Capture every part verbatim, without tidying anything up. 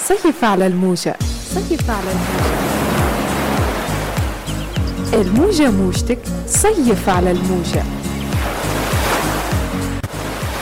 صيف على الموجة، صيف على الموجة، الموجة موجتك، صيف على الموجة.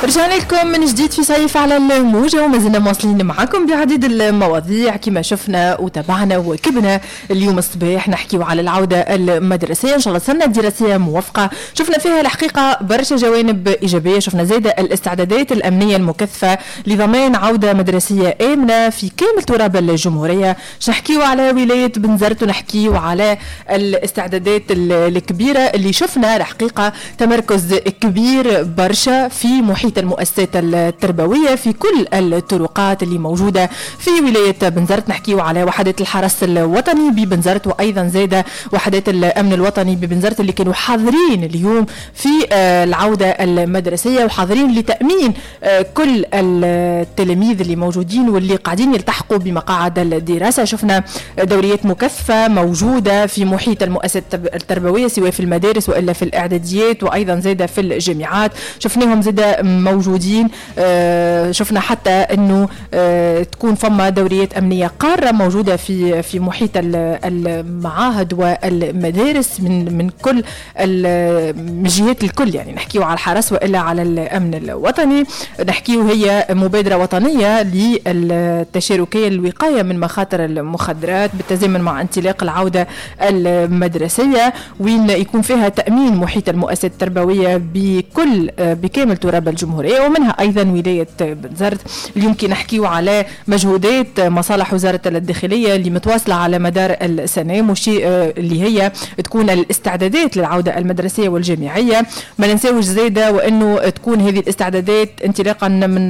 رجعنا لكم من جديد في صيف على الموجة، وما زلنا مواصلين معكم بعديد المواضيع كما شفنا وتابعنا وكبنا اليوم الصباح. نحكيو على العودة المدرسية، إن شاء الله سنة دراسية موفقة. شفنا فيها الحقيقة برشا جوانب إيجابية، شفنا زادة الاستعدادات الأمنية المكثفة لضمان عودة مدرسية آمنة في كامل تراب الجمهورية. نحكيو على ولاية بنزرت ونحكيو على الاستعدادات الكبيرة اللي شفنا الحقيقة تمركز كبير برشا في محيط المؤسسات التربوية في كل الطرقات اللي موجودة في ولاية بنزرت. نحكيو على وحدات الحرس الوطني ببنزرت، وأيضا زادة وحدات الأمن الوطني ببنزرت اللي كانوا حاضرين اليوم في العودة المدرسية، وحاضرين لتأمين كل التلاميذ اللي موجودين واللي قاعدين يلتحقوا بمقاعد الدراسة. شفنا دوريات مكثفة موجودة في محيط المؤسسات التربوية سواء في المدارس وإلا في الإعداديات، وأيضا زادة في الجامعات شفناهم زادة موجودين. شفنا حتى انه تكون فما دوريات امنية قارة موجودة في في محيط المعاهد والمدارس من من كل الجهات الكل، يعني نحكيو على الحرس والا على الامن الوطني. نحكيو هي مبادرة وطنية للتشاركيه للوقايه من مخاطر المخدرات بالتزامن مع انطلاق العودة المدرسية، وين يكون فيها تامين محيط المؤسسات التربوية بكل بكامل تراب الجمهورية، ومنها أيضا ولاية بنزرت. اليوم كي نحكيو على مجهودات مصالح وزارة الداخلية اللي متواصلة على مدار السنة، مشي اللي هي تكون الاستعدادات للعودة المدرسية والجامعية. ما ننساوش زادة وأنه تكون هذه الاستعدادات انطلاقا من